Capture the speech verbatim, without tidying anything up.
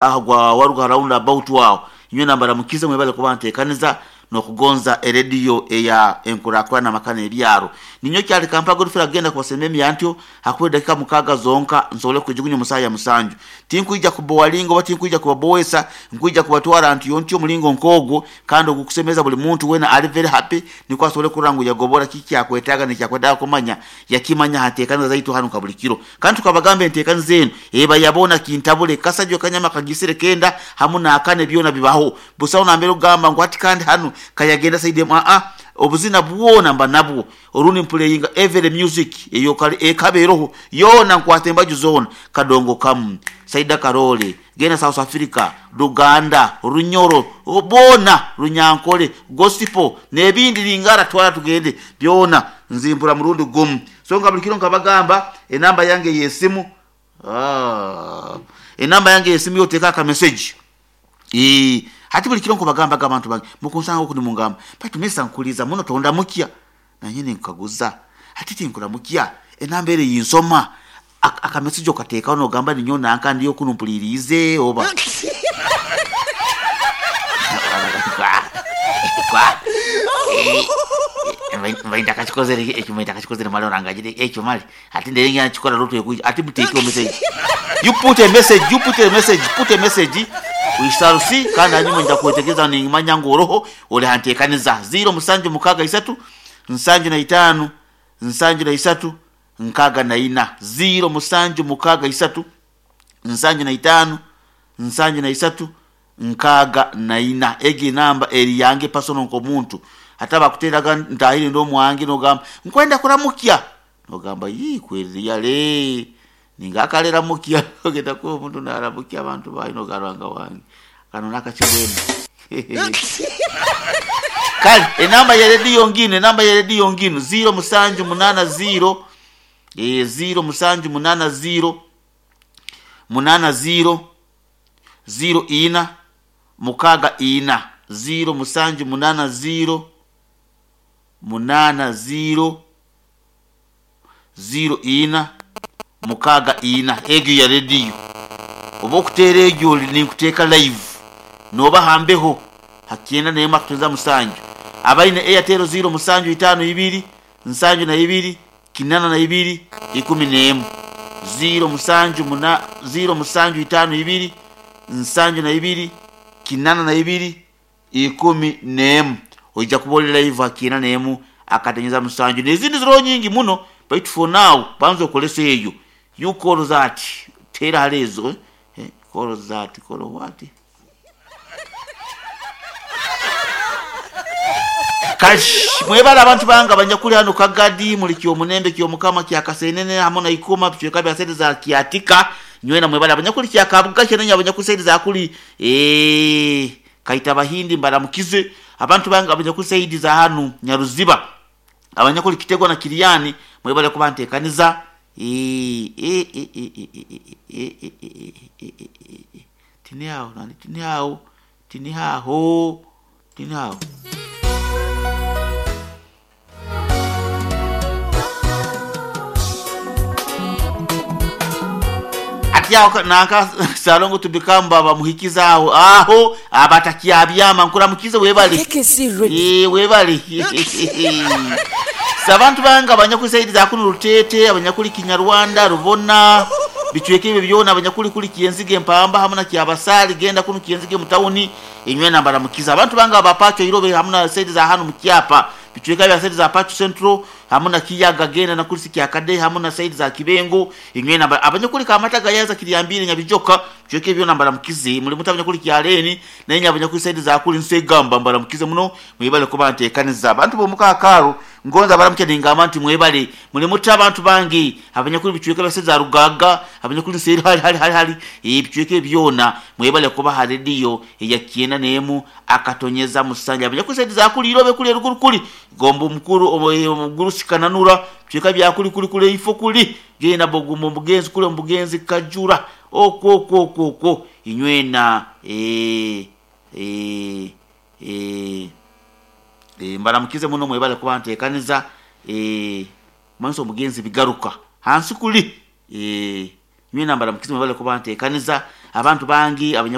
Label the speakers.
Speaker 1: Aho gwa waruga round about aho inywe nambaramukize mwebale kuba ntekaniza nokugonza erediyo eya enkurakurana makana ebyaro ninyo kyali kampa godfrey agenda kubasema emyantyo hakuwe dakika mukaga zonka nsobole kwijugunya omusaya musanju tinkwija kubowalinga oba tinkwija kubabowesa nkwija kubatwara nti ntyo omulingo nkogwo kandi ogukusemeza buli muntu wena ali very happy nikwo asobole kurora ngu yagobora kiki akwetaaga nikyakwetaaga kumanya yakimanya hanteekaniza zaitu hanu ka buli kiro kandi tukabagamba enteekaniza enu eba yabona kintabule kasajjo kanyama kagisire kenda hamu naakane byona bibaho busaho nambere okugamba ngu hati kandi hanu kayagenda saidi emu aa obuzina bwona mba nabwo orundi mpuleyinga every music eyo kali ekabeeroho yoona nkwata embaju zoona kadongo kamu saida karole genda South Africa Luganda Runyoro boona Runyankole gospel n'ebindi lingara twala tugende byona nzimbura murundi gumu so nga buli kiro nkabagamba enamba yange y'esimu ah, enamba yange y'esimu yoteeka aka message Ee, hati buli kiro nkubagambaga abantu bange mukunsanga oku nimungamba baitu mesa nkuliza muno tondamukya nanye ninkaguza hati tinkuramukya enamba ere yinsoma Ak- akamessage okateekaho nogamba ninyo nanka ndiyo kunu mpuliriize oba kwa mbainda akakikozere ekyo mbainda akakikozere mali orangagire ekyo mali ati nderengera nkikora rutu ekuija ati muteekeho message you put a message you put a message put a message we shall see kandi hanyuma nja kwetegereza nimanya ngu oroho ori hanteekaniza ziro musanju mukaaga isatu nsanju na itaano nsanju na isatu nkaaga na ina ziro musanju mukaaga isatu nsanju na itaano nsanju na isatu nkaaga na ina egi enamba eri yange personal nk'omuntu ate abakuteraga ntahire n'omwange nogamba nkwenda kuramukya nogamba yii kweriyale ningakaleramukia ogenda kuba omuntu naramukia abantu bayi nogarwanga wange kano nakakigwemu kale enamba ya rediyo ngino enamba ya rediyo ngino ziro musanju munana ziro eh, ziro musanju munana ziro munana ziro ziro ina mukaga ina ziro musanju munana ziro munana ziro ziro ina mukaga ina egyo ya rediyo oba okuteera egyo ninkuteeka live noba hambeho hakyenda naye makutuza musanju abaine airtel ziro musanju itaano ibiri nsanju na ibiri kinana na ibiri ikumi n'emu ziro musanju muna ziro musanju itaano ibiri nsanju na ibiri kinana na ibiri ikumi n'emu oija kuba oli live hakyenda n'emu akatenyeza musanju n'ezindi ziroho nyingi muno baitu for now banza okolesa eyo you call that teera hali ezo eh? call that call what kashi mwebale abantu bange abanyakuli hano kagadi muli kyomunembe kyomukama kyakasenene hamu na ikuma bicweka bya sente za kyatika nywena mwebale abanyakuli kyakabuga kyenenya abanyakuli sente za kuli eh kaita bahindi mbaramukize abantu bange abanyakuli saidi za hanu nyaruziba abanyakuli kitegwa na kiriani mwebale kuba ntekaniza eh eh eh eh eh eh eh eh eh eh eh eh tini aho nani tini aho tini aho tini aho ati aho nanka salongo tubikamba bamuhikiza aho aho abatakyabyama nkuramukize webale
Speaker 2: K K C Radio.
Speaker 1: Eh, webale sabantu bange abanyakuli saidi za kuno rutete abanyakuli kinyarwanda rubona bicweka ebyo byona abanyakuli kuli kienzige empamba hamu na kyabasali genda kuno kienzige mutawuni enywe nambara mukiza abantu bange abapacho irobe hamu na saidi za hanu mukyapa bicweka bya saidi za pacho central hamu na kiyaga genda na kulisi kyakade hamu na saidi za kibengo enywe nambara abanyakuli kamata gayaza kiryambire nyabijoka bicweka ebyo nambara mukize muri muta abanyakuli kyaleni naye abanyakuli saidi za kuli nsegamba mbara mukize muno mwebale kuba ntekaniza abantu bomukakaro ngonza baramukye ningamba nti mwebale muli muta abantu bange abanyakuli bicweka bya za rugaga abanyakuli nseri hali hali hali hali ebicweka byona mwebale kuba ha rediyo eya kyenda n'emu akatonyeza musanja abanyakuli saidi za kuli irobe kuli eruguru kuli gombo omukuru omuguru sikananura bicweka bya kuli kuli kuli ifo kuli genda bogumba omugenzi kuli omugenzi kajura okwo okwo okwo okwo inywena eh eh eh e, mbaramukize muno mwebale kuba ntekaniza e, manso omugenzi bigaruka hansi kuli e, nywena mbaramukize mwebale kuba ntekaniza Abantu bangi abanya